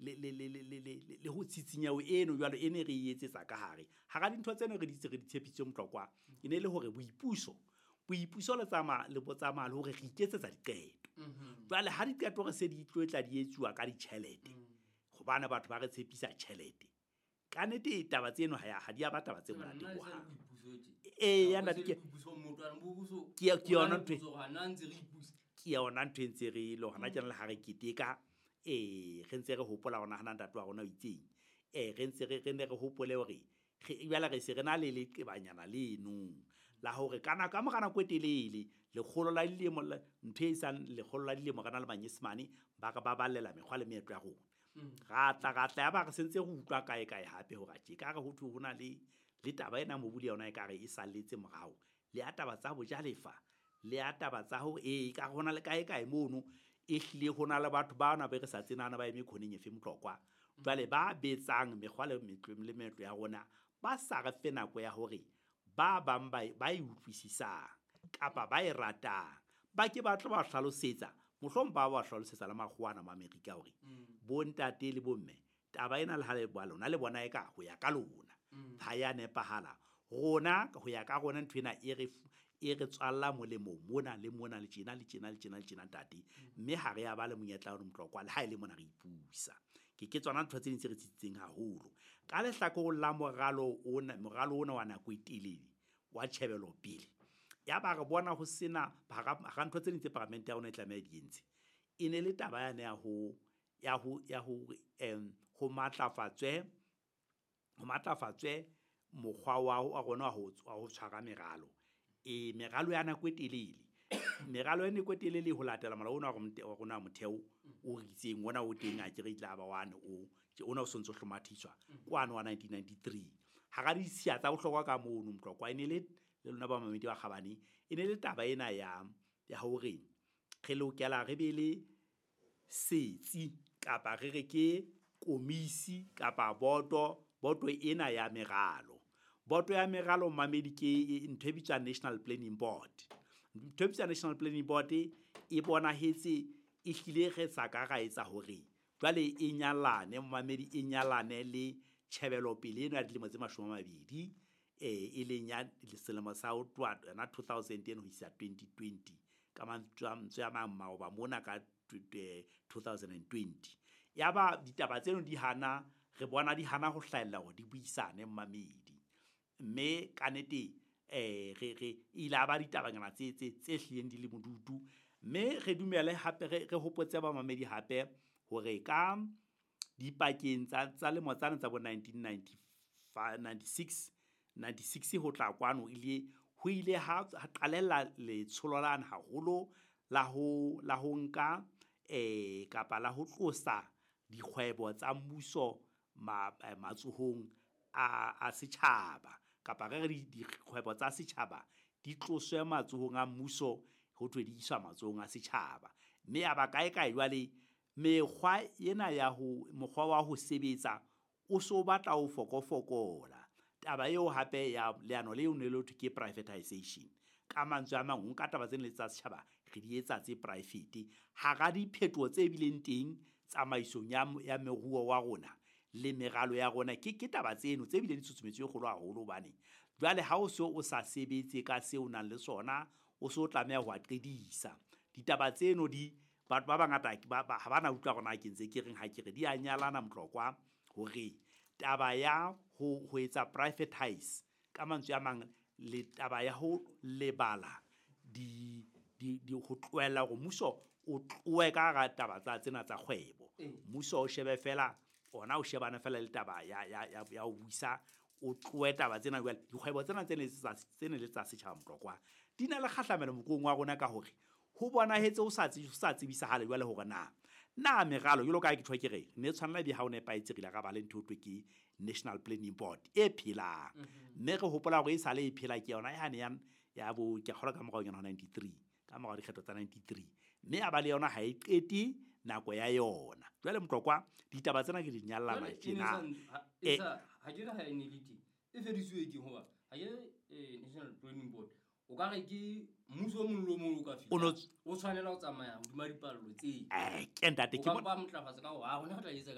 le ho tsitsinyeho eno jwalo e ne re e etsetsa ka hare. Hara dintho tseno re di re di tshepisitse Motlokwa, e ne le hore boipuso le tsamaya le bo tsamaya le hore re iketsetsa diqeto. Jwale ha diqeto re se di tlo tla di etsuwa ka ditjhelete, hobane batho ba re tshepisa tjhelete. Ka nnete taba tseno ha di a ba taba tse monate hohang. Eya ntate, ke yona ntho ke yona ntho e ntse re le hona tjena le ha re keteka, re ntse re hopola hore nahana ntate wa rona o itseng. Re ntse re ne re hopole hore jwale re se re na le leqebanyana leno la hore kana ka mora nako e telele, lekgolo la dilemo, ntho e sang lekgolo la dilemo re na le manyesemane ba re baballela mekgwa le meetlo ya rona. Ra tla ya ba re sentse re utlwa kae kae hape hore tje ka re ho thwe ho na le taba ena mobu le yona ekare e salletse morao. Le ya taba tsa bojalefa, le ya taba tsa hore ka re hona le kae kae mono e hlile ho na le batho bana be re sa tsenana ba eme khoneng efe Motlokwa. Jwale ba betsang mekgwa le meetlo ya rona ba sa re fe nako ya hore ba bang ba e utlwisisang kapa ba e ratang ba ke ba tlo ba hlalosetsa, mohlomong ba hlalosetsa le makgowa ana ma Amerika hore bo ntate le bomme taba ena le ha le bua lona le bona e ka ho ya ka lona ha ya nepahala. Rona ho ya ka rona ntho ena e re tswalla molemo mona le mona le tjena le tjena le tjena le tjena ntate, mme ha re ya ba le monyetla wa Motlokwa le ha e le mona re ipusa. Ke tsona ntho tse ding tse re tsitsitseng haholo. Ka lehlakoreng la moralo ona wa nako e telele wa tjhebelopele, ya ba re bona ho sena hara ntho tse ding tse paramente ya rona e tlameha di entse, e ne le taba yane ya ho ho matlafatswe mokgwa wa rona wa ho tshwara meralo. Meralo ya nako e telele, meralo ya nako e telele ho latela molao ona wa rona wa motheo o re itseng ona o teng, a ke re tla ba wane o ona o sontso hlomathiswa kwano wa 1993. Hara ditshiya tsa bohlokwa ka mono Motlokwa e ne le lona ba mamedi ba kgabane, e ne le taba ena ya hore re lokela re be le setsi kapa re re ke komisi kapa boto ena ya meralo. Boto ya meralo mamedi ke ntho e bitswang National Planning Board. Ntho e bitswang National Planning Board e bonahetse e hlile re sa ka ra etsa hore jwale e nyalane mamedi, e nyalane le tjhebelopele eno ya dilemo tse 20, e leng ya selemo sa ho tloha yona 2010 ho isa 2020, ka mantswe a mang maoba mona ka 2020. Ya ba ditaba tseno di hana, re bona di hana ho hlahella hore di buisane mamedi, mme ka nnete re ile a ba ditabanyana tse hlileng di le modutu. Mme re dumele hape re hopotse ba mamedi hape hore ka dipakeng tsa lemo tsane tsa bo 1996 ho tla kwano ho ile ha qalella letsholo lane haholo la ho nka kapa la ho tlosa dikgwebo tsa mmuso matsohong a setjhaba, kapa re re dikgwebo tsa setjhaba di tloswe matsohong a mmuso ho thwe di iswa matsohong a setjhaba. Mme ya ba kae kae jwale mekgwa ena ya ho mokgwa wa ho sebetsa o so batla ho fokofokola. Taba eo hape ya leano leo ne le thwe ke privatization. Ka mantswe a mang, ho nka taba tsena le tsa setjhaba re di etsa tse private. Hara diphetoho tse bileng teng tsamaisong ya moruo wa rona le meralo ya rona, ke taba tseno tse bileng tshusumetso e kgolo haholo, hobane jwale ha o so o sa sebetse ka seo o nang le sona, o so tlameha ho a qedisa. Ditaba tseno di batho ba bangata ha ba na utlwa hore na ke ntse ke reng ha ke re di a nyalana Motlokwa, hore taba ya ho etsa privatize ka mantswe a mang le taba ya ho lebala di ho tlohella hore mmuso o tlohe ka hara taba tsa tsena tsa kgwebo. Mmuso o shebe fela ona, o shebana fela le taba ya ho buisa, o tlohe taba tsena jwale. Dikgwebo tsena tse ne le tsa setjhaba Motlokwa di na le kgahlamelo moruong wa rona ka hore ho bonahetse ho sa tsebisahale jwale hore na meralo jwalo ka ha ke tjho ke re ne tshwanela be ha o nepahetse re ile ra ba le ntho e thwe ke National Planning Board e phelang. Mme re hopola hore e sale e phela ke yona yane ya bo ke kgolwa ka morao yona 93, ka morao dikgetho tsa 93, mme ya ba le yona ha e qete nako ya yona. Jwale Motlokwa ditaba tsena ke di nyallana tjena. Ha ke re ha e ne le teng e fedisuwe ke hoba ha ke National Planning Board o ka re ke mmuso o mong le o mong o ka fihla o tshwanela ho tsamaya hodima dipallo tse. Ke ntate ke bona ba motlafatsa ka hore ha rona re tla etsa ka